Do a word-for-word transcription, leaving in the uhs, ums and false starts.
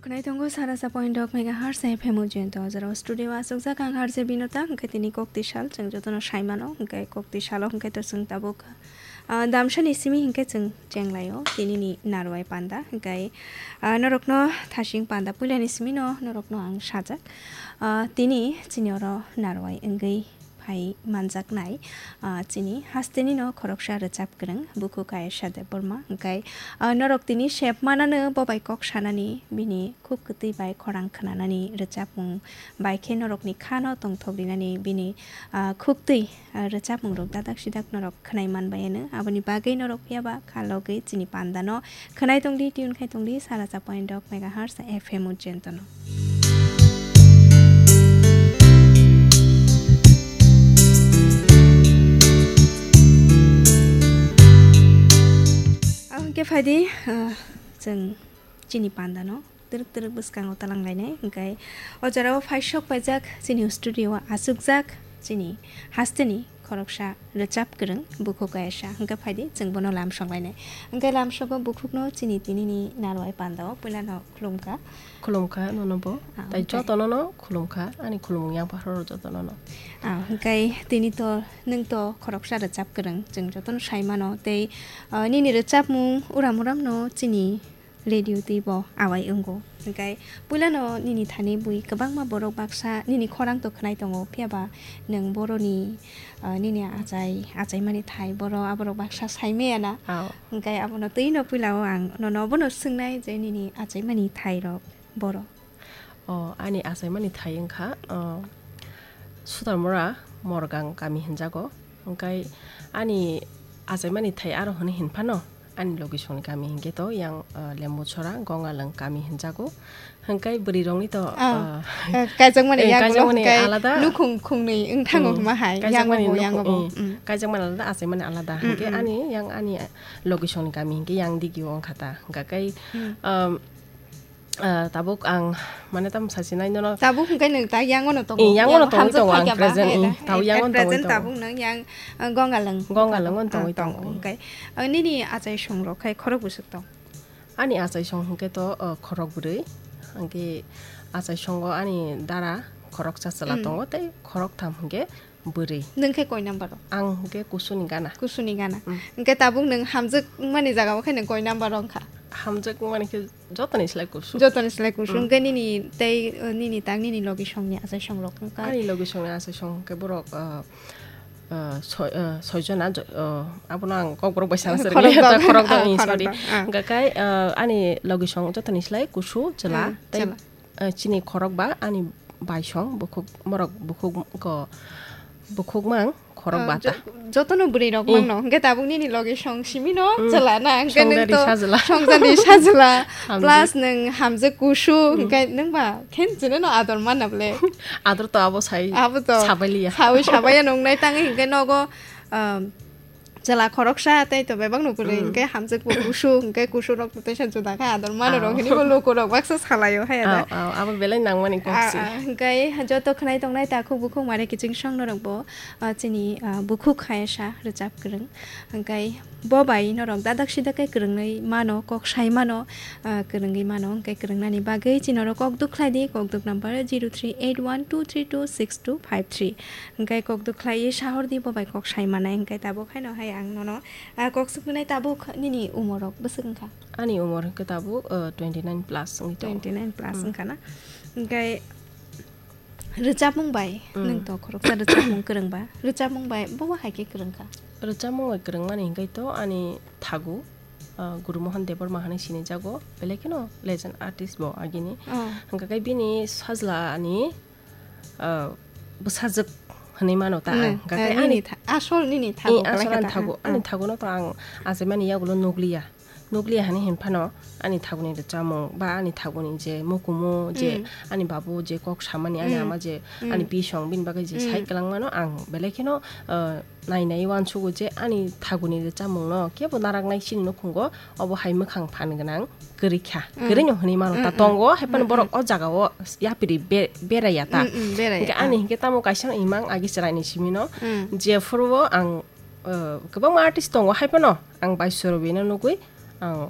Khwnai tongo sara sa point dok megahertz F M Ujjain to, o jora o studio o aswkjak ang R J Binota, hwnkhe tini kok tisal chwng jotono sai mano, hwnkhe kok tisalo hwnkhe to chwng tabuk, ah, damsani simi hwnkhe chwng chenglaio tinini narwai panda, hwnkhe, ah, norokno thasing panda puilani simino norokno ang sajak. Ah, tini chini oro narwai wngwi phai manjaknai, ah, chini hastenino khoroksa rwchap kwrwng bukhuk Ayesha Debbarma. Hwnkhe, ah, norok tini sep manano bo bai kok sanani, bini khuk kwtwi bai khorang khwnanani rwchapmung bai khe norokni khano tongthok rinani bini, ah, khuktwi, ah, rwchapmungrok dadak sidak norok khwnai manbayano. Aboni bagwi norok phiyaba kha logwi chini pandano khwnai tongdi, tune khai tongdi, sara sa point dok megahertz F M Ujjain tono. Ang hwnkhe phaidi, ah, chwng chini pandano twrwk twrwk bwskango twlang lainai, hwnkhe o jorao phaisok paijak chini studio o achukjak chini hasteni khoroksa rwchap kwrwng bukhuk Ayesha, hwnkhe phaidi chwng bono lamsok lainai. Hwnkhe lamsogo bukhukno chini tinini narwai pandao puilano khulumkha. Khulumkha nono bo. Ah, tai hwnkhe jotono no khulumkha, ani khulumung yang pharo jotono no. Ah, hwnkhe tini to nwng to khoroksa rwchap kwrwng chwng jotono sai mano tei, ah, nini rwchapmung uram uram no chini radio twi bo awai wngo. Hwnkhe puilano nini thani bui kwbangma borok baksa nini khorang to khwnai tongo, phiyaba nwng boroni, ah, nini achai, achaimani thai boro aborok baksa sai maya na. Ao. Hwnkhe abono twi no puila o ang nono bono swngnai je nini achaimani thai rok boro. O, ani achaimani thai wngkha, o, Sudarmura Morgang kami hinjago. Hwnkhe ani achaimani thai aro hwnwi hinphano, ani logisongni kami hinkhe to yang, o, Lembuchora Gongalwng kami hinjago. Hwnkhe bwrwirokni to, Ah, o, eh, kaijakmani eh, yagulo kaijakmani hwnkhe alada. Nukhung khungnwi wngthango Hmm. hwnma hai, Kaijakmani yango bo, nukhung, yango bo. eh, Hmm. Kaijakmani alada, achaimani alada. Hmm, Hwnkhe hmm. ani yang ani logisongni kami hinkhe yang digio wngkha ta. Hwnkhe, Hmm. um, Ah, tabuk ang, mane, tamo sasinai nono. Tabuk hwnkhe nwng ta yangono tongo. Eh, yangono Yang tongwi hamjak tongo ang phaikha ba, present, eh, eh, tabuk eh, yangono tongwi present tongo. Tabuk nwng yang, ah, Gongalwng. Gongalwng on Ah, tongwi tongo, tongo. Hwnkhe, ah, nini achai songrok khai khorok bwswk tong? Ani achai song hwnkhe to, ah, khorok bwrwi. Hwnkhe achai songo ani dara khoroksa chwla Mm. tongo tei khorok tham hwnkhe bwrwi. Nwng khe koi number o? Ang hwnkhe kusuni gana. Kusuni gana. Mm. Hwnkhe tabuk nwng hamjak wngmani jaga o khe nwng koi number o wngkha? Hamjak wngmani khe jotoni slai kusu. Jotoni slai kusu. Mm. Hwnkhe nini tei, uh, nini tang nini logi songni achai song rok wngkha? Ani logi songni achai song hwnkhe borok, uh, uh, soi, uh, soi jona, jo-, uh, abono ang kokborok bai sana sari. Khorok dok. Khorok dok, Ah, eh, khorok sorry. Dok, ah. Hwnkhe kai, uh, ani logi song jotoni slai kusu chwla. Ah, tei chwla. Eh, chini khorok ba ani baisong bukhuk morok bukhuk ko bukhuk mang khorok Ah, bata. Jo-, jotono bwrwi rok Hmm. mangno. Hwnkhe tabuk nini logi song simi no Hmm. chwla na. Hwnkhe Songdari nwng to sajwla. Songdari sajwla. Hamjak. Plus nwng hamjak kusu. Hmm. Hwnkhe nwng ba khen chwla no ador mana ble. Ador to abo sai Abo to sabai liya. Sawi sabai ya nung nai tangi hwnkhe nogo, um, Chwla khoroksa tei to bebak no kwrwi, Mm. hwnkhe hamjak bo kusu, hwnkhe kusu rok to teisa juda kha ador mano rok Oh. hinwi bo luku rok baksa salaio haya da. Oh, oh, abo belai nangmani kok Ah, si. Ah, hwnkhe joto khwnai tongnai takhuk bukhuk mare kiching song norok bo, ah, chini, ah, bukhuk khaisa rwchap kwrwng. Hwnkhe bo bai norok dadak sidak khe kwrwngwi mano, kok sai mano, ah, kwrwngwi mano, hwnkhe kwrwngnani bagwi chini norok kok duk khlai di, kok duk number zero three eight one two three two six two five three. Hwnkhe kok duk khlaiwi sahor di, bo bai kok sai manai, hwnkhe tabuk haino hai ang nono, ah, kok suknai tabuk nini umor rok bwswk wngkha? Ani umor hwnkhe tabuk, uh, twenty nine plus wngwi tongo. Twenty nine plus Mm. wngkha na? Hwnkhe rwchapmung bai Mm. nwng to khoroksa rwchapmung kwrwng ba, rwchapmung bai bo hai khe kwrwng kha? Rwchapmung bai kwrwng mani hwnkhe to ani thagu, uh, Guru Mohan Debbarma hinwi sinijago, belai kheno legend artist bo agini. Oh. Hwnkhe bini sajla ani ah, bwsajwk hinwi mano ta Mm, ang. Hwnkhe eh, ani nini tha-, asol nini thago eh, asol kwlai ani kha ta, thago, ah, ani ah. Thagono to ang achaimani yagulo nukliya. Nukliya hinwi hinphano ani thaguni rwchapmung ba ani thaguni je mukumu je Mm. ani babu je kok samani ani Mm. Ama je Mm. ani bisong bini bagwi je Mm. Sai kwlangmano ang belai kheno, ah, nai nai uansugo je ani thaguni rwchapmungno kebo naraknai chini nukhungo obo hai mwkhang phan gwnang kwrwi kha. Mm. Kwrwi no hinwi mano ta Mm, mm. Tongo, hai phano Mm, borok mm. O jaga o yapri be-, beraiya ta. Mm, mm, beraiya Hwnkhe ta. Ani hwnkhe tamo kaisa imang agi chwraini simi no. Mm. Jephuru o ang, uh, kwbangma artist tongo, hai phano ang Baiswa Robino nugwi ang